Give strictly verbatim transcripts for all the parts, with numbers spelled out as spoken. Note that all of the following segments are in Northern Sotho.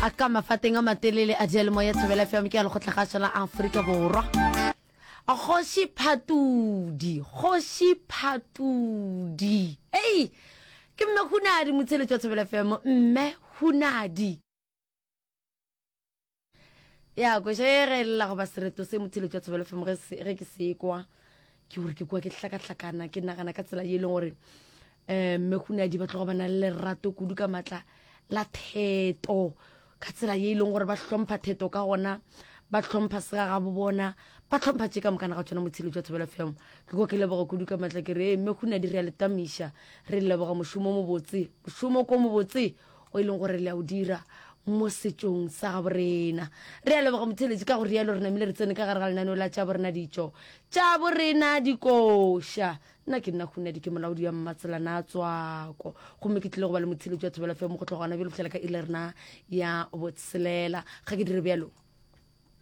A ka mafateng a matelele a diyalemoya Thobela F M ke ya Lekgotlakgašo la Afrika Borwa. Kgoši Phatudi, Kgoši Phatudi. Ei, ke Mme Hunadi motsheletši wa Thobela F M, Mme Hunadi. Ya kweša e ge lla goba sereto se motheletši wa Thobela F M ge se, ge ke se kwa, ke gore ke kwa ke hlakahlakana, ke nagana ka tsela ye e leng gore um Mme Hunadi ba tloga ba na le lerato kudu ka matla la theto, ka tsela ye e leng gore ba hlompha theto ka gona, ba hlompha segagabo bona, ba hlompha tše ka mokana ga tšona motheletši wa Thobela F M. Ke kwa ke leboga kudu ka matla ke re, Mme Hunadi re a le tamiša, re leboga mošomo o mobotse, mošomo ko mobotse o e leng gore le a o dira mo setšong sa gabo rena. Re a leboga motheletši ka go rialo re namile re tsene ka gare ga lenaneo la tša borena ditšo tša borena dikoša. Nna ke nna Hunadi, ke molaodi wa Mmatselana a Tswako, gomme ke tlile go ba le motheletši wa Thobela F M go tloga gona bjalo fihlela ka iri la rena ya botshelela. Ga ke dire bjalo.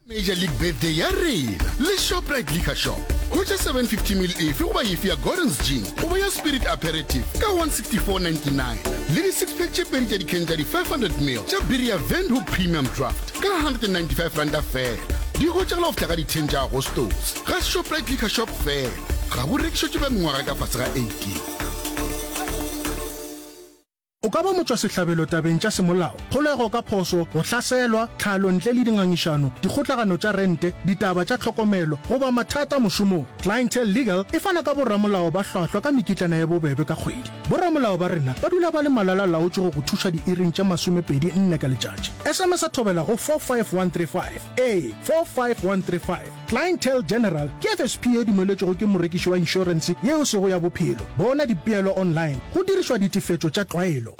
Major League Birthday ya rena le Shoprite Liquor Shop. Hwetša seven fifty mil efe goba efe ya Gordon's Gin goba ya Spirit Aperitif ka one sixty-four ninety-nine le di six pack tše pedi tša dikheng tša di five hundred mil tša biri ya Windhoek Premium Draft ka hundred and ninety-five ranta fela. Di hwetšagala go fihla ka di ten tša Agostose ga Shoprite Liquor Shop fela. Ga bo rekišetšwe ba mengwaga ka fase ga eighteen. O ka ba motšwasehlabelo tabeng tša semolao, kgolego ka phošo, go hlaselwa, tlhalo ntle le dingangišano, dikgotlagano tša rente, ditaba tša tlhokomelo, goba mathata mošomong. Clientele Legal e fana ka boramolao ba hlwahlwa ka mekitlana ye bobebe ka kgwedi. Boramolao ba rena ba dula ba le malala-laotšwe go go thuša diiring tše masomepedi nne ka letšatši. S M S thobela go four five one three five. Ee, four five one three five. Clientele General ke F S P ye dumeletšwego ke morekiši wa inšorense yeo e sego ya bophelo. Bona dipeelo online go dirišwa ditefetšo tša tlwaelo.